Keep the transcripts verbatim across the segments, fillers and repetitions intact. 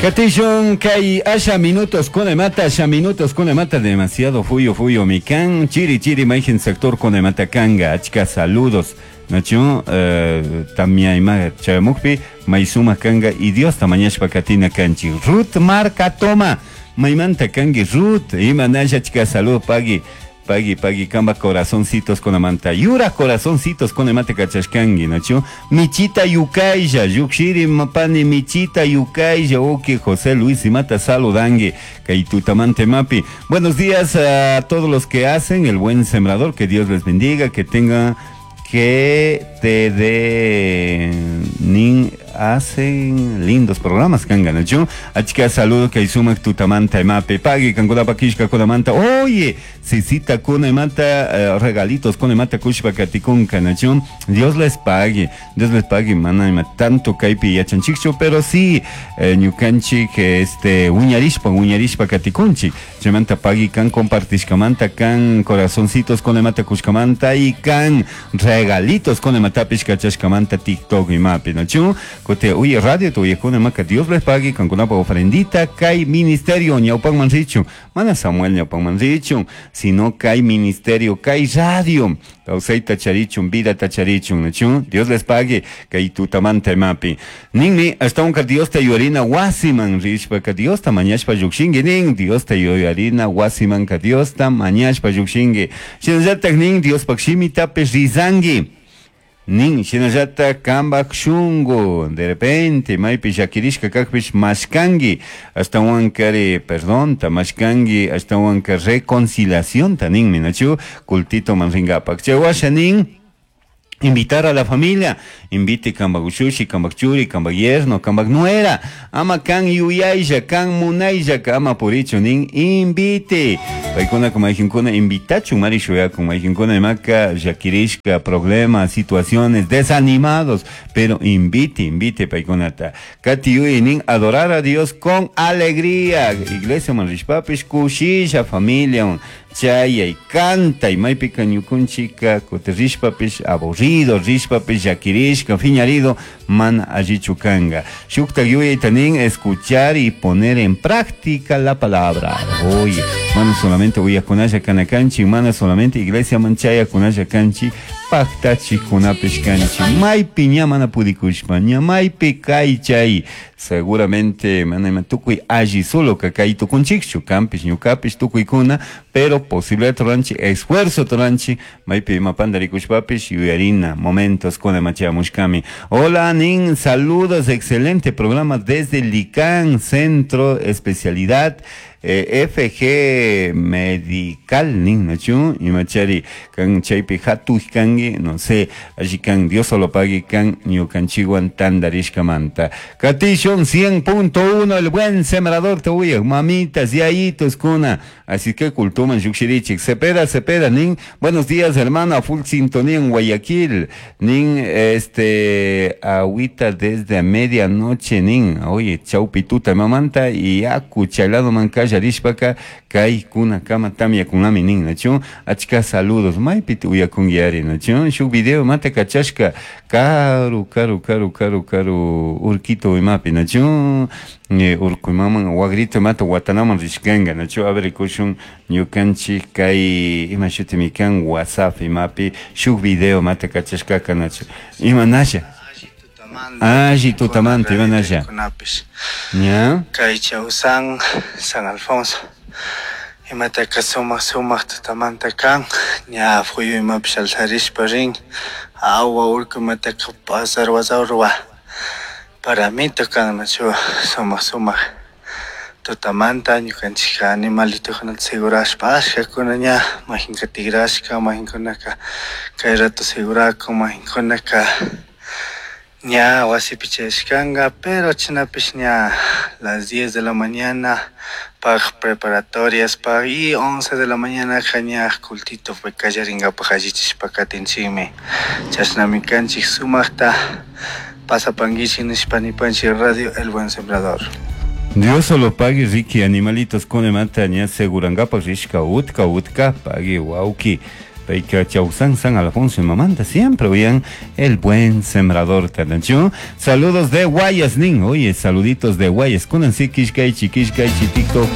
Katishun kay asha minutos kunamanta, asha minutos kunamanta, demasiado fuyo fuyo mikan chiri chiri mayjin sector kunamanta kanga, achka saludos nachu eh, tamia ima chayamukpi may sumak kanga y Dios mañashpa katina kanchi. Ruth Marca Toma, maymanta kangi Ruth, ima nasha, achka salud pagui pagui pagui kamba corazoncitos con amanta yura corazoncitos con amante kachashkangi nachu michita yukaylla yukshiri mapani michita yukaylla oke José Luis imata saludangi kay tutamante mapi. Buenos días a todos los que hacen el buen sembrador, que Dios les bendiga, que tenga que te de nin hacen lindos programas kanga nachu achka saludo kay sumak tutamanta mapi pagui kankunapa kishka kunamanta. Oye, sisita kunamanta eh, regalitos kunamanta kushpa katikunka nachu. Dios les pague, Dios les pague, mana ima tanto kaypi yachanchikchu, pero sí eh, ñukanchik este wiñarishpa wiñarishpa katikunchik chaymanta pagui kan compartishkamanta kan corazoncitos kunamanta kushkamanta y kan regalitos kunamatapish kachashkamanta TikTok imapi nachu. Kote uy radio tu uyakuna maka Dios les pague kankunapa ofrendita kay ministerio ñawpanman richun, mana Samuel ñawpanman richun, sino kay ministerio kay radio kawsayta charichun vida tacharichun nachu. Dios les pague kay tutamanta imapi ninmi ashtawanka Dios ta yuyarina wasiman rishpaka Dios ta mañashpa llukshinki nin Dios ta yuyarina wasimanka Dios ta mañashpa llukshinki shinallatak nin Diospak shimitapish rizanki nin shinallata kambak shungu de repente maypi llakirishka kakpish mashkanki ashtawankari perdonta mashkanki ashtawanka reconciliacionta ninmi nachu cultito man rinkapak chay washa nin invitar a la familia, invite kambak ushushi, kambak churi, kambak yerno, kambak nuera, ama kan yuyaylla, kan munaylla, ama purichu nin invite. Paykuna mayjinkuna invitachun mari shuyakun, mayjinkuna imaka llakirishka, problemas, situaciones, desanimados, pero invite, invite paykunata. Kati yuy nin adorar a Dios con alegría. Iglesia man rishpapish kushisha familia chayay canta y maypika ñukunchika kuti rishpapish aburrido rishpapish llakirishka fiñarido mana allichu kanga. Shuktak yuyayta nin escuchar y poner en práctica la palabra. Oye, mana solamente uyakunalla kana kanchik, mana solamente iglesia man chayakunalla kanchik, paktachikkunapish kanchik. Maypi ña mana pudikushpa, ña maypi kay chay, seguramente mana ima tukuy alli solo ka kay tukunchikchu, kanpish ñukapish tukuykuna, pero posibilidad turanchi, esfuerzo turanchi, maypi ima pandarikushpapish yuyarina momentos kuna machamushkami. Hola nin, saludos, excelente programa desde Licán, Centro Especialidad eh, F G Medical nin nachu imachari kan chaypi hatuj kangi, no sé, allí kan Dios solo pague kan ñukanchikwan tandarishkamanta. Katishon cien punto uno, el buen sembrador te uya, mamitas, yayitos kuna, así que cultuman yukshirichik. Cepeda, Cepeda nin, buenos días hermana, full sintonía en Guayaquil nin, este agüita desde a medianoche nin, oye, chaupituta mamanta y aku chaylado mancaya rishpaka kay kuna kama tamya kunami nin nachu achka saludos maypi uyakungiari nachu shuk video mata kachashka karu karu karu karu karu urquito imapi nachu urku imaman wagrito imata watanaman rishkanga nachu a ver kushun ñukanchik kay ima shutimi kan WhatsApp imapi shuk video mata kachashkaka nachu ima nasha alli tutamanta ima nasha ña kay Chausan San Alfonso imataka sumak sumak tutamanta kan ña fuyu imapish alzarishpa rin awa urku imataka pasarwa sarwa paramito kan nachu sumak sumak tutamanta ñukanchikka animalitokunata segurashpa ashkakuna ña majinka tigrashka majinkunaka kay rato segurakun majinkunaka ña wasipi chayashkanka, pero chinapish ña las diez de la mañana paj preparatorias paj y once de la mañana ka ña cultito kallarinkapak allichishpa katinchikmi chashnami kanchik sumakta pasapankichik nishpa nipanchik Radio El Buen Sembrador. Dios solo pague Ricky, animalitos con mata ña segurankapak rishka utka utka pague wauki. Payka Chausan San Alfonso y mamanta siempre oían el buen sembrador tanachu. Saludos de Guayas nin. Oye, saluditos de Guayas. Kunansi kishkaychi kishkaychi TikTok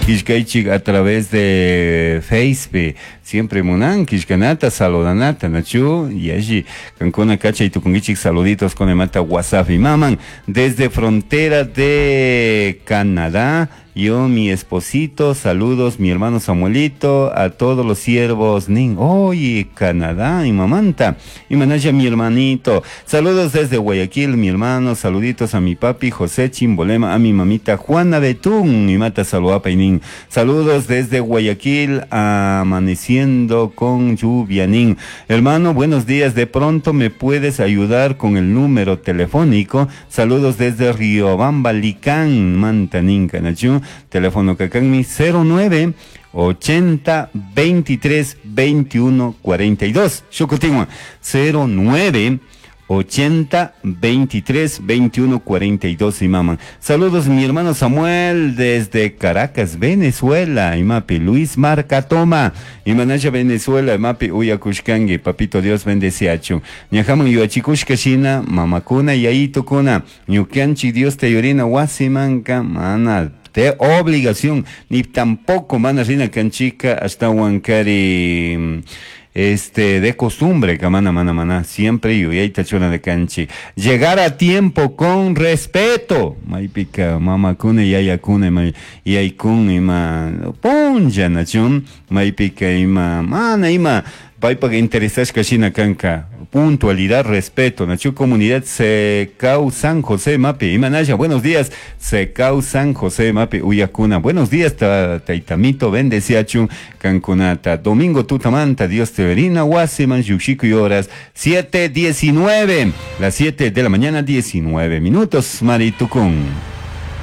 kishkaychi a través de Facebook. Siempre munan kishkanata saludanata nachu y allí kankuna kachay tukungichik saluditos con el mata WhatsApp y maman desde frontera de Canadá. Yo, mi esposito, saludos, mi hermano Samuelito, a todos los siervos, nin, oye, Canadá, y mamanta, y manaya mi hermanito, saludos desde Guayaquil, mi hermano, saluditos a mi papi José Chimbolema, a mi mamita Juana Betún, y mata saluapa y nin, saludos desde Guayaquil, amaneciendo con lluvia, nin, hermano, buenos días, de pronto me puedes ayudar con el número telefónico, saludos desde Riobamba, Licán, manta, nin, canachu. Teléfono Cacanmi cero nueve ochenta veintitrés veintiuno cuarenta y dos. Shukutigua cero nueve ochenta veintitrés veintiuno cuarenta y dos y mamá. Saludos mi hermano Samuel desde Caracas, Venezuela. Imapi Luis Marcatoma. Imanaya Venezuela, imapi uyakushkangi. Papito Dios bendeciachu. Ñajaman yuachikushka shina, mamakuna yayitukuna. Ñukanchi Dios te yorina wasimanka mana de obligación, ni tampoco mana rina canchica hasta Huancari, este, de costumbre, camana, mana, mana, siempre yuyayta chuna de canchi. Llegar a tiempo con respeto. Maypika, mama kune, yaya kune, may, yaykun, ima, punlla, nachun, maypika, ima, mana, ima, paypak interesashka shina kanka. Puntualidad, respeto. Nachu comunidad Secau San José Mapi. Imanaya, buenos días. Secau San José Mapi, Uyacuna. Buenos días, Taitamito, bendeciachu, Cancunata. Domingo Tutamanta, Dios te verina, Guasiman, Yuxico y horas. siete diecinueve, las siete de la mañana, diecinueve minutos, Maritucún.